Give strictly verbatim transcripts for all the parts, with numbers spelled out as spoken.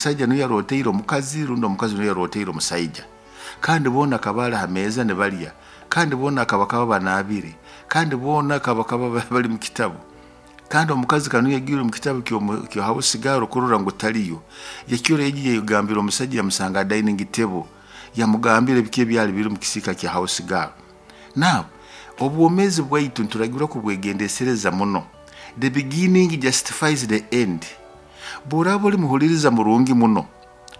Omusaija nuwe yaroteire omukazi, rundi omukazi nuwe yaroteire omusaija. Kandi boona akaba ali ha meeza nibalya, kandi boona akaba banaabire, kandi boona akaba bali mu kitabu. Kandi omukazi kanu yagiire omu kitabu kya house girl kurora ngu taliyo. Yakiro egi yagambira omusaija, yamusanga ha dining table, yamugambira ebiki ebyali biri omu kisiika kya house girl. Now, obwomeezi bwaitu nituragirwa kubwegendesereza muno. The beginning justifies the end. Bw'oraaba oli muhuliriza murungi muno,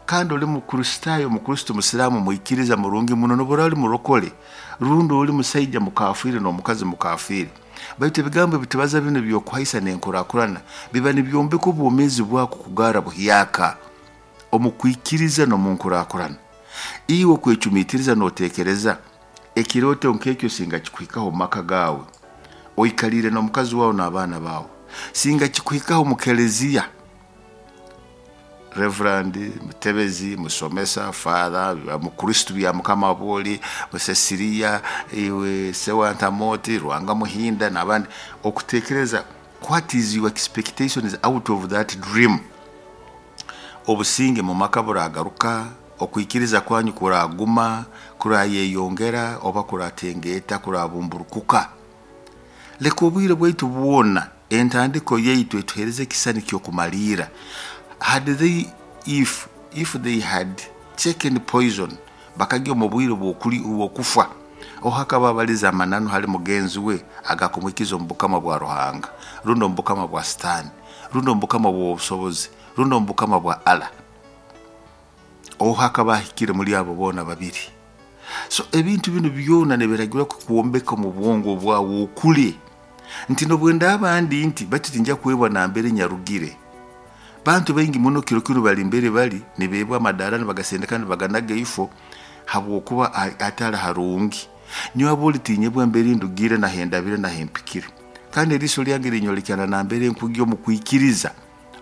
kandi oli Mukristaayo, Mukristo, Musiraamu, mwikiriza murungi muno, n'obu oli murokole, rundi oli musaija mukafiire n'omukazi mukafiire, baitu ebigambo ebitubaza binu by'okuhaisa n'enkurakurana biba nibyombeka obwomeezi bwako kugarra buhyaka omu kwikiriza n'omu nkurakurana. Iwe okwecumiitiriza n'oteekereza ekirooto nk'ekyo singa kikuhikaho omu maka gaawe, oikaliire n'omukazi waawe n'abaana baawe, singa kikuhikaho omu keleziya, Reverend, mutebezi, musomesa, father, mukristo bya Mukama bwoli, Cecilia, iwe Sewantamoti, Rwanga Muhinda n'abandi, okuteekereza what is your expectations out of that dream? Obusinge mu maka buragaruka, okwikiriza kwanyu kuraguma, kurayeyongera oba kuratengeeta, kurabumburukuka. Leka obwire bwaitu bwona entandiko yaitu etuheereze ekisani ky'okumaliira. Had they if if they had taken poison, bakagya omu bwire bw'okufa, oho akaba abaliza amananu hali mugenzi we agakumwikiza omu bukama bwa Ruhanga, rundi omu bukama bwa Sitaani, rundi omu bukama bw'obusobozi, rundi omu bukama bwa Allah. Oho akaba ahikire muri abo boona babiri. So ebintu binu byona nibiragirwa kukwombeka omu bwongo bwawe okule nti nobwenda ndi nti baitu tinja kwebwa nambere nyarugire. Bantu baingi muno kiro kinu bali mbere bali nibeebwa amadaara nibagasendeka nibaganaga ifo habwokuba atali harungi. Nyowe aboli tinyebwa mbere ndugire nahendabire nahempikire. Kandi eriiso lyange linyolekana nambere nkugya omu kwikiriza,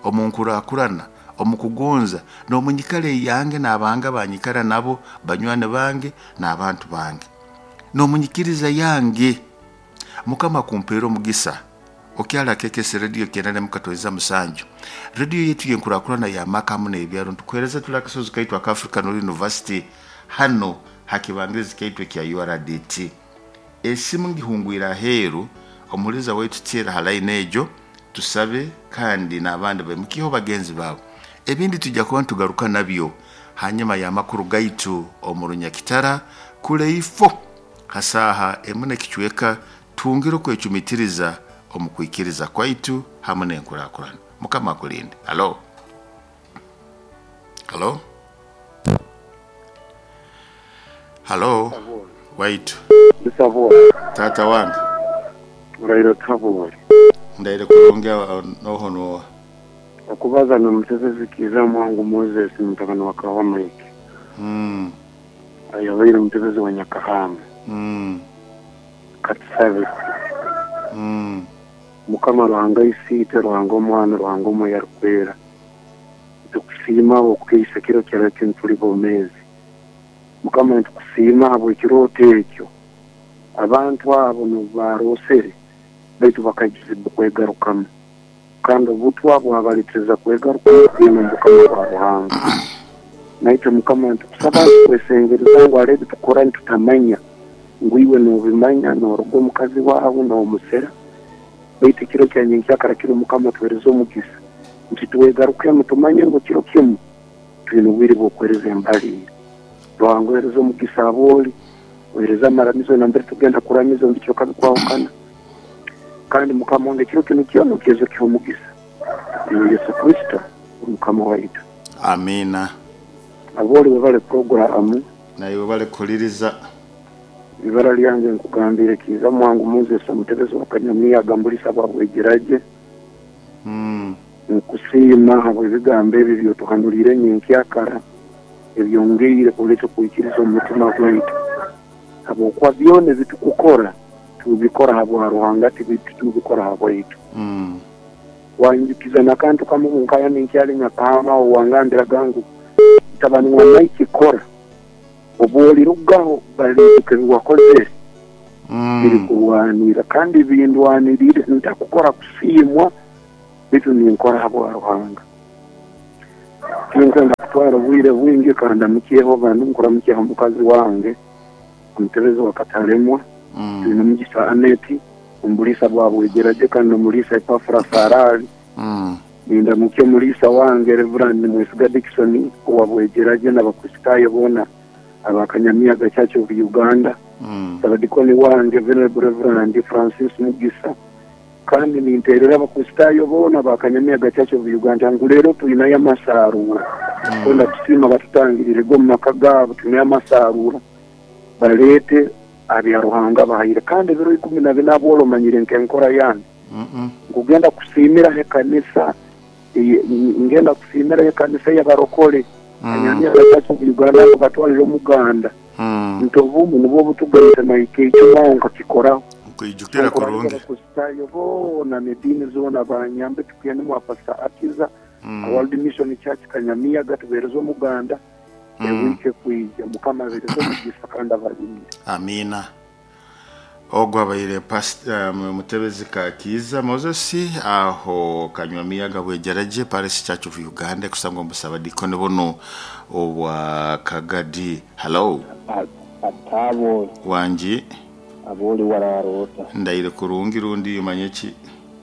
omu nkurakurana, omu kugonza, n'omu nyikara eyange n'abanga banyikara nabo, banywani bange n'abantu bange. N'omu nyikiriza yange Mukama kumpeera omugisa. Okyala kekese radio kyenda n'emu musanju. Radio yetu yenkurakurana ya maka hamu n'ebyaro ntukuheereza tuli akasozi kaitu aka African University hano hakibangirizi kaitu ekya U R D T. Esimu ngihungwira aheeru omuhuriza waitu teera ha line egyo tusabe kandi n'abandi baimukiho bagenzi baabo. Ebindi tujja kuba nitugaruka nabyo hanyuma y'amakuru gaitu omu Runyakitara kule ifo hasaha emu n'ekicweka twongere okwecumitiriza omu kwikiriza kwaitu hamu n'enkurakurana. Mukama akulinde. Halo? Halo? Halo? Waitu. Tata wange. Urairo tabori. Ndaire kurongea noho noa. Okubaza n'omutebezi Kiza Mwangu Moses mutabani wa Kawamike. Mm. Ayabaire omutebezi wa Nyakahama. Mm. Katusabe. Mm. Mukama Ruhanga isiite, Ruhanga omwana, Ruhanga omwoyo arikwera. Nitukusiima okukeisa kiro kyara tuli bomezi. Mukama nitukusiima habw'ekirooto ekyo. Abantu abo nibarosere baitu bakagizibwa kwegarukamu. Kandi obutwa bwabaleeteza kwegarukamu kwina Mukama wa Ruhanga. Naitwe Mukama nitukusaba kwesengereza ngu hariho ebitukora nitutamanya ngu iwe noobimanya nooruga omukazi waawe noomusera. Baitu ekiro kya nyenkyakara kiro Mukama tuhereze omugisa nti twegarukemu tumanye ngu kiro kimu twine obwire bw'okwereza embalire. Ruhanga ohereze omugisa abooli, ohereze amaramizo nambere tugenda kuramiza omu bicweka bikwahukana. Kandi Mukama wange ekiro kinu kyona okize kiha omugisa. Ni Yesu Kristo Mukama waitu. Amina. Abooli webale programu. Naiwe bale kuhuliriza. Ibara lyange nkugambire Kiza Mwangu Moses omutebezi wa Kanyamiya agambulisa bwabwegeraje. Mm. Nkusiima habw'ebigambo ebi byotuhanulire nyenkyakara ebyongeire kuleeta okwikiriza omu mutima gwaitu. Habwokuba byona ebitukukora tubikora habwa Ruhanga, titubikora habwaitu. Mm. Wanjukiza n'akantu kamwe nkaya ninkyali Nyakahama owangambiraga ngu mutabani wa Mike kora obu olirugaho baliijuka ebi wakozere birikurwanira kandi bindwanirire ntakukora kusiimwa baitu ninkora habwa Ruhanga. Tinkwenda kutwara obwire bwingi kandi ndamukyeho bandi nkuramukyeho mukazi wange omutebezi wa Katalemwa Mm. tulina Mugisa Aneti omulisa bwabwegeraje kandi nomulisa Epafra Sarali Mm. nindamukye omulisa wange Reverend Mwesiga Dickson owabwegeraje n'abakristaayo boona abakanyamiyaga Church of Uganda Mm. abadikoni wange Venerable Reverend Francis Mugisa kandi ninterera abakristaayo boona bakanyamiyaga Church of Uganda ngu leero tulinayo amasaaruura kwenda kusiima batutangirire go mu maka gaabo tulinayo amasaaruura baleete abya Ruhanga bahaire kandi ebiro ikumi na bina bwolo omanyire nk'enkora yange Mm. nkugenda kusiimiraho ekanisa eye- ngenda kusiimiraho ekanisa y'abarokole Kanyamiyaga Church of Uganda ngo batwalire omuganda Mm. nti obumu nibwo butugaita naike ekyo nkakikoraho Nkwijukira kurungi. Abakristaayo boona n'ediini zoona banyambe tukugende mwa Pastor Akiza Mm. World Mission Church Kanyamiyaga tubeereze omuganda Mm. ewiiki ekwija Mukama abeereze omugisa kandi abalinde. Amina. Ogwo abaire past- um, mutebezi Kakiza Moses aho Kanywamiyaga Bwegeraje Parish Church of Uganda kusangwa musabadikoni buno obwa Kagadi. Hello. Atabo Wangi. Aboli wararota. Ndaire kurungi rundi umanye ki?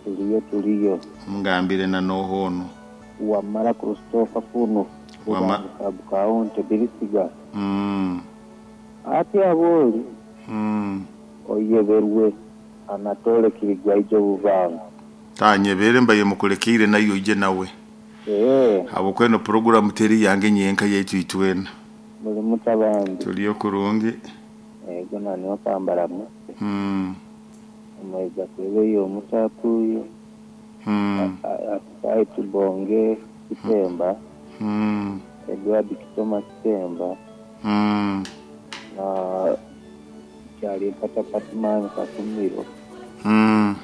Tuliyo tuliyo. Mungambire na nohono. Wamara Christopher kuno. Wama- Kaunti Birisiga. Mm. Ati aboli Mm. oyeberwe Anatole Kirigwaijo Buvanga. Tanyebere mbaye mukulekire nayo ije nawe. Eh, Habwokweno program teri yange nyenka yaitu itwena. Muli mutabandi. Tuliyo kurungi. Ego nani wakambaramu. Mm. Omweza kwebeyo omutapuyo. Mm. Asai tubonge Kitemba. Mm. Edward Kitoma Kitemba. Mm. Na kyali mpatapati Katumiro. Mm.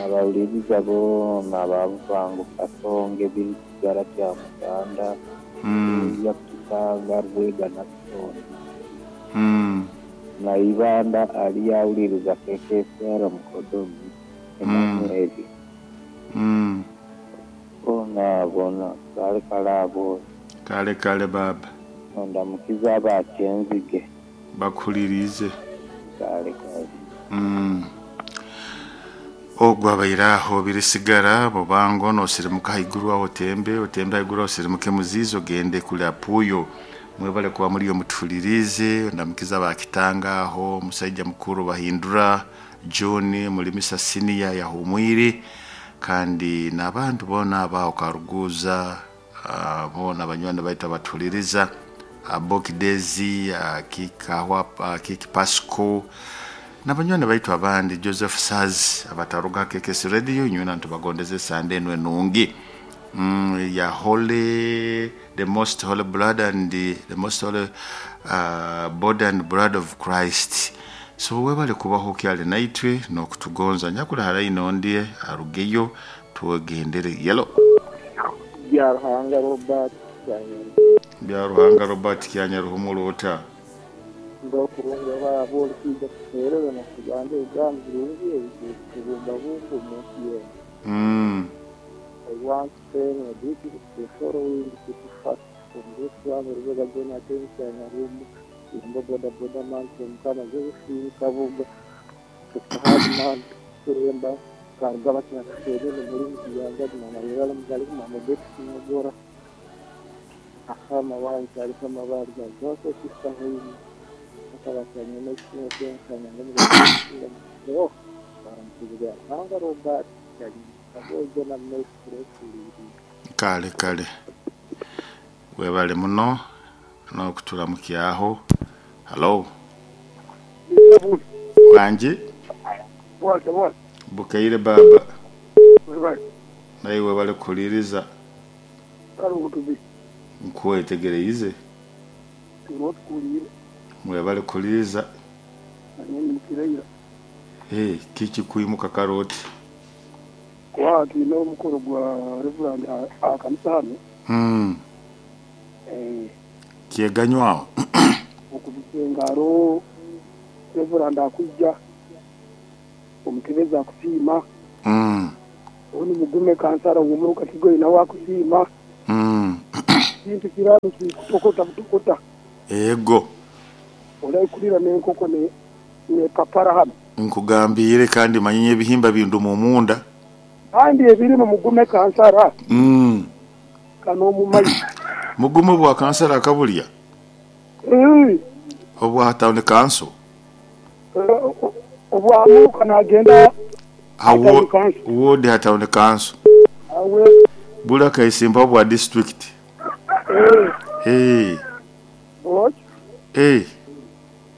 Abawuliriza boona ababuvangu Kasonge Birisigara kya Muganda. Mm. Ya Kitanga Rwega na Kitonda. Mm. Na Ibanda ali awuliriza K K S R Mukodomi Emmanuel. Mm. Bona bona kale kale abo. Kale kale baba. Ondamukiza abakyenzige. Bakulirize. Kale kale. Mm. Ogwo abairaho Birisigara Bubango nosirimuka haiguru aho otembe otembe haiguru aho osirimuke Muzizi ogende kuli Apuyo. Mwebale kuba muri yo mutulirize ndamukiza bakitanga aho musaija mukuru Bahindura John mulimisa senior yahumwire kandi n'abantu bona abaho Karuguza uh, bona banywani baita batuliriza Abokidezi uh, Kikahwa uh, Kiki Pasco n'abanywani baitu abandi Joseph Saz abataruga K K S Radio nyuna ntubagondeze sande enwe nungi. Mm, ya holy the most holy blood and the, the most holy uh, body and blood of Christ. So webale kubaho kyali naitwe n'okutugonza nyakula harayi ndie arugeyo tugendere yelo. Bya Ruhanga Robert Kyanya. Bya Ruhanga Robert Kyanya ruhumulota. Ndo kurunga babo kija kuterera na kuganda egambo birungi ebibumba bumba omunsi yenu. Mm. I want to say a bit the following to first from this one Rwega Jonathan Kyanyarumu Imbo boda boda man from Kama Josephine Kabuga Hard man Kuremba Kargaba Kinakasere muri Muyanga Mama Yala Mugali Mama Betty Mugora Ahama wange ariko amabara zose sisahuyi akabakanye n'ikindi kanyanga muri baramutubwira Ruhanga Robert Kyanya na Kale kale webale muno n'okutulamukiaho. Hello. Wangi. Bwate bwate. Bukaire baba. Webale. Naye webale kuliriza. Karugutubi. Nkwetegereize. Turotukulire. Mwebale kuliriza. Nanyeni mukiraira. Eh, kiki kuimuka karoti. Kwa tulina omukolo gwa Reverend akanisa hano. Mm. Eh, Kyeganywaho. Okubisengaro Reverend akujja omutebeza akusiima. Mm. Oni mugume kansara w'omuruka Kigoyi nawe akusiima. Mm. Kintu kirano kikutokota butokota. Ego. Olaikulira n'enkoko ne ne papara hano. Nkugambire kandi manyinye ebihimba bindu mu munda. Kandi ebirimu mugume kansara. Mm. Kano mumayi. Mugume bwa kansara akabulya. Mm. Obwa town council. Obwa muka nagenda hawo ward ha town council. Awe bula kaisimba bwa district. Eh. Eh. What? Eh.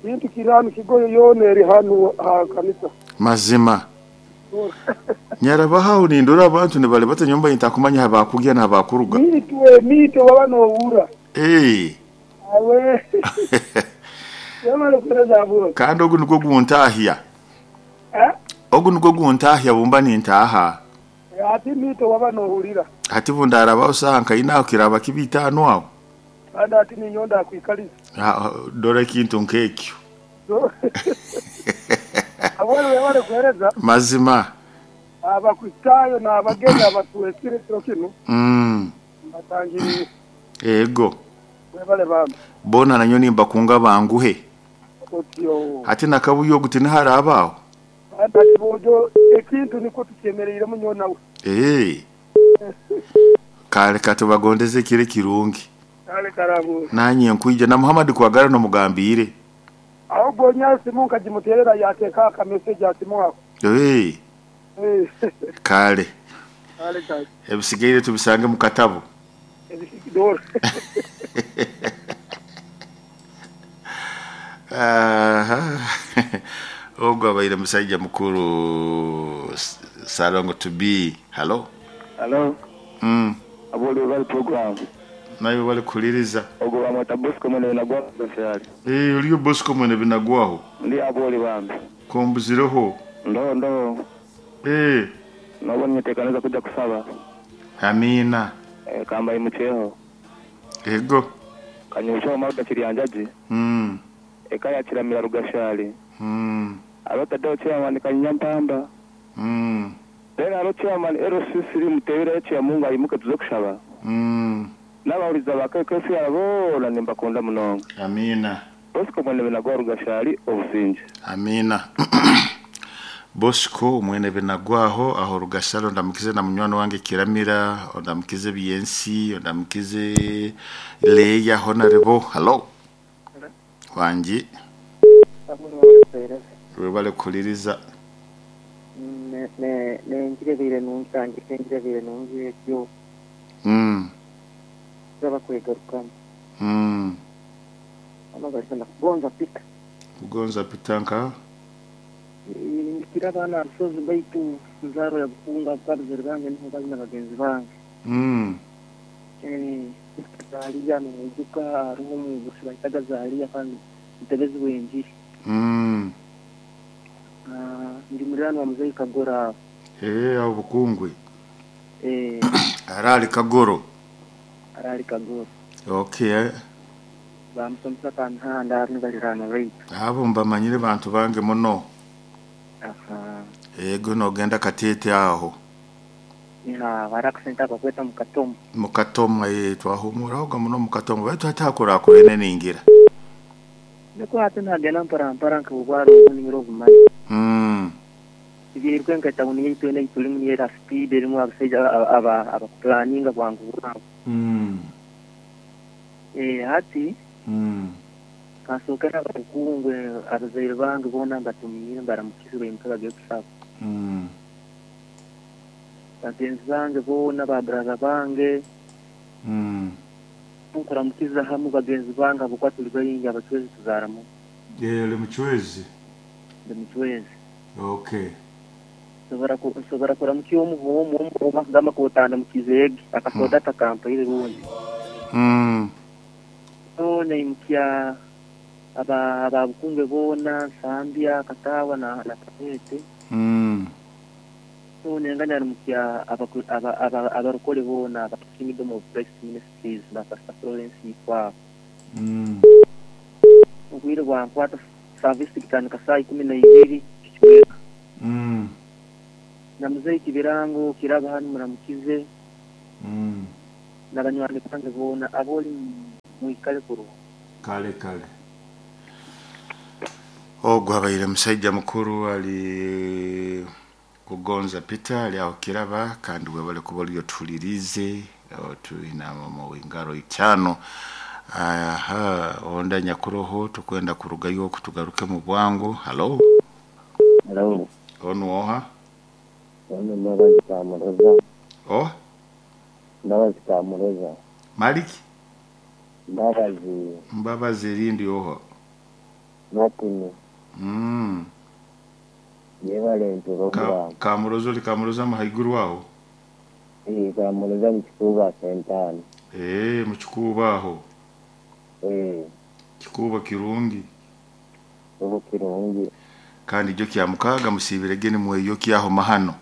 Bintu kirano kigoyo yone eri hano ha kanisa. Mazima. Nyarabaha unindura abantu ne bale batanyomba intakumanya habakugya na habakuruga. Mitwe mitwe baba no wura. Eh. Awe. Yamara kureza abo. Kandi ogu niko guntahia. Eh? Ogu niko guntahia bumba nintaha. Ati mitwe baba no hurira. Ati bundara bawusanka inaho kiraba kibitano aho. Kandi ati ninyonda kwikaliza. Ha dore kintu nkekyo. Abone wale kuhereza. Mazima. Abakristayo na abageni abatuwesire kiro kino. Mm. Batangiriye. Ego. Webale bambi. Bona nanyo nimba kunga banguhe. Otyo. Ati nakabuyo guti naharabaho. Ati bojo ekintu niko tukemererire munyo nawe. Eh. Kale katubagondeze kire kirungi. Kale karabu. Nanye nkuije na Muhammad kwagara no mugambire. Aho gonya simu nkajimuterera yateka ka message atimu. Eh. Eh. Kale. Kale kale. Ebisigaire tubisange mu katabo. Ebisigidor. Aha. Ogwo abaire musajja mukuru Salongo to be. Hello. Hello. Mm. Aboli bali program. Nayo bali kuliriza. Ogwo bamweta Bosco mwene binagwaho byali. Eh uliyo Bosco mwene binagwaho. Ndi aboli bambi. Kombuzireho. Ndo ndo. Eh. Nabonye tekaneza kujja kusaba. Amina. Eh kamba imucheho. Ego. Kanyusha maruda kiryanjaji. Mm. Ekaya kiramira rugashali. Mm. Abata do chairman kanyampamba. Mm. Then alo chairman L C C mutebera ya Mungu ayimuke tuze kushaba. Mm. N'abawuriza bakekesi abo na nimbakunda munonga. Amina. Bosco mwene binagwa rugashali obusinje. Amina. Bosco mwene binagwaho aho rugashalo ndamukize na munywano wange Kiramira ndamukize B N C ndamukize Leya Honorable. Hello. Wanji. Webale kuliriza. Ne ne ne ngirebire nungi ngirebire nungi yo. Mm. Zaba kwegaruka. Mm. Amagarisa kugonza pika. Kugonza pitanka. Kirabana sozi baitu nzaro ya bukunga kabzeri bange niho bali n'abagenzi bange. Mm. Eh zaliya n'umuduka ruho mu gusiba zaliya kandi mutebezi wenji. Mm. Ah ndi murano wa muzei Kagora. Eh abo bukungwe. Eh arali Kagoro. Arali Kagoro. Okay. Bamusomesa kanhanda nibalirana right. Abo mbamanyire bantu bange muno. Aha. Ego nogenda katete aho. Ina barakusenta bakweta mukatomo. Mukatomo eh twahumura muno mukatomo baitu hatakora akorene ningira. Niko hatu nagenda mpara mpara nkubwaro nimiro gumaye. Mm. Ibirwe nkatawuni yitu ne itulimu yera speed erimu abasajja aba aba planninga bwangu bwangu. Mm. Eh hati Mm. kasokera bakungwe abazaire bange bona mbatumire mbaramukize imkaga kusaba. Mm. Bagenzi bange bona ba brother bange. Mm. Nkuramukiza hamu bagenzi bange abo tuli bayingi abachwezi tuzaramu. Eh le muchwezi. Le muchwezi. Okay. Sobara ko sobara kuramukiyo omuhomo omu gama kotanda mukizege akasoda takampa ile rundi. Mm. So naimukia aba ababukunge bona Sambia Katawa na na Katete. Mm. So nenganya mukia aba aba abarokole bona aba Kingdom of Christ Ministries na Pastor Florence kwa. Mm. Ubwire bwa nkwata service kitandika saa ikumi na ibiri kichweka. Mm. Na muzei kibirango kiraba hano muramukize. Mm. N'abanywani bange boona aboli mwikale kurungi. Kale kale. Ogwo abaire musajja mukuru ali Kugonza Peter ali aho Kiraba, kandi webale kuba oliyo tuhulirize tuina mu ngaro itano. Aha, onda nyakuroho tukwenda kurugayo kutugaruke mu bwangu. Halo. Hello. Onu oha? Ono Mbabazi Kamuroza. Oh, Mbabazi Kamuroza. Maliki Mbabazi Mbabazi erindi oha? Martin. Mm. Yebale ntulo Ka, bwa. Kamuroza oli Kamuroza muhaiguru aho? Eh, Kamuroza mu Kikuuba sentano. Eh, mu Kikuuba aho. Eh, Kikuuba kirungi. Ubu kirungi. Kandi jo kya mukaga musibirege ni mweyo kyaho mahano.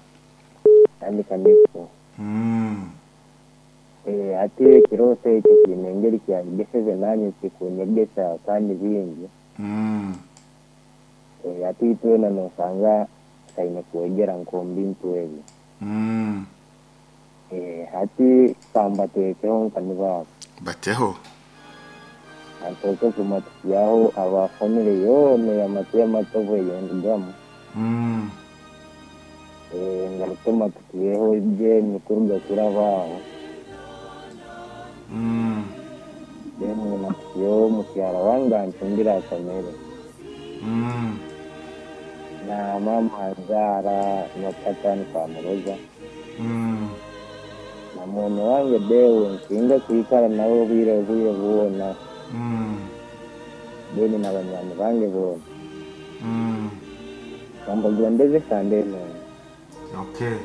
Kandi kaniko. Mm. Eh, ati ekirooto ekyo kiine engeri kyanyegeseze nanye kikunyegesa kandi bingi. Mm. Eh, ati twena nosanga kaine kwegera nk'omu bintu ebyo. Mm. Eh, hati kambateekeho nkanibaabo. Bateho. Antooke kumatukyaho aba family yoona yamatu yamatovu eyendigamu. Mm. Eh, ngaruke matukiyeho Jane kuruga kirabaaho. Mm. Then matukiyeho mukyara wange ancumbira akamere. Mm. Na mama anzaara na tata nikamuroza. Mm. Na mwene wange Deo nsinga kwikara nawe obwire obwire bwona. Mm. Then na banywani bange boona. Mm. Kambagondeze sande eno. Okay.